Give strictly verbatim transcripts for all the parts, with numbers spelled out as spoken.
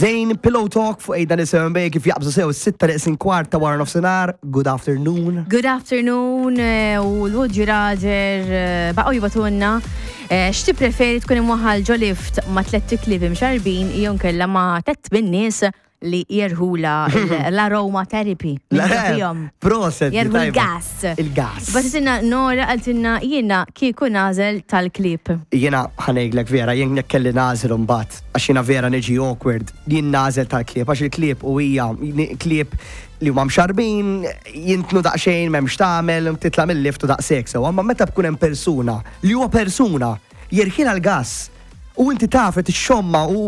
Zayn, Pillow Talk fuq Ejda Nisem Bej kif jaqbżu sew sitta neqsin kwart ta' wara nofsinhar. Good afternoon. Good afternoon eh, u l-Would Raġer eh, baqgħu jibagħtulna eh, x'ti preferi, tkun imwaħħal ġo lift ma' tlett iklieb imxarbin jew kella ma' tliet min-nies li jerħula l-aroma therapy fihom? Proset. Jerħu tajba. l-gas. Il-gas. Bagħtitilna Nora, qaltilna jiena kieku nagħżel tal-klieb. Jiena ħa ngħidlek vera, jien jekk kelli nagħżel mbagħad, għax jiena vera niġi awkward, jien nagħżel tal-klieb, għax il-klieb u hija klieb li huma mxarbin, jintnu daqsxejn, m'hemmx tagħmel, titla' mill-lift u daqshekk sew, amma meta bkun hemm persuna li huwa persuna jerħilha l-gas u inti taf qed ixxomma u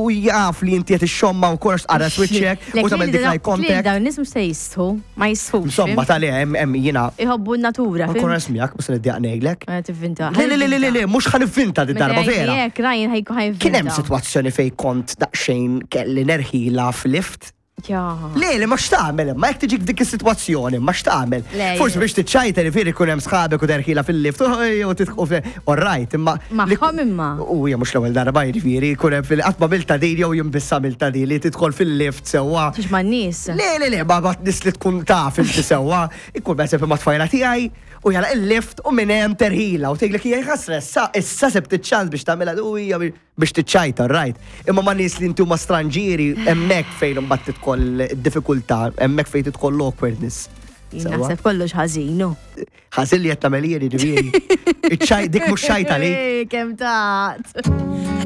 u jaf li inti qed ixxomma u kollox tqara switchek u tagħmel dik eye contact. Dawn nies mhux se jistħu, ma jistħux. Insomma, tal hemm hemm jiena Iħobbu n-natura. Nkun miegħek, mhux se niddejjaq ngħidlek. Tivvinta. Le, le, le, le, le, le, mhux ħa nivvinta di darba vera. Jek, Ryan ħajku ħajvinta. Kien hemm sitwazzjoni fej kont daqsxejn kelli nerħila f'lift. Ja. Le, le, ma x'tagħmel, ma jekk tiġik dik is-sitwazzjoni, ma x'tagħmel? Le, Forsi je. biex tiċċajta li fieri jkun hemm sħabek u terħila fil-lift, u tidħu all right, imma. Magħhom imma. U hija mhux l-ewwel darba, jiġifieri jkun hemm fil qatt ma milta din jew jimbissa milta din li tidħol fil-lift sewwa. Tix ma' nies. Le, le, le, ma ma nis li tkun taf inti sewwa, ikun per ma tfajla tiegħi u jala il-lift u minn hemm terħila u tgħidlek hija ħasra, issa issa sebt iċ-ċans biex tagħmilha u hija biex tiċċajta, right. Imma ma nies li inti huma stranġieri, hemmhekk fejn imbagħad tidħol id-diffikultà, hemmhekk fejn tidħol l-awkwardness. Jien Sewwa. naħseb kollox ħażinu. Ħażin li qed tagħmel jien, jiġifieri. Iċ-ċaj dik mhux ċajta li. Kemm tat.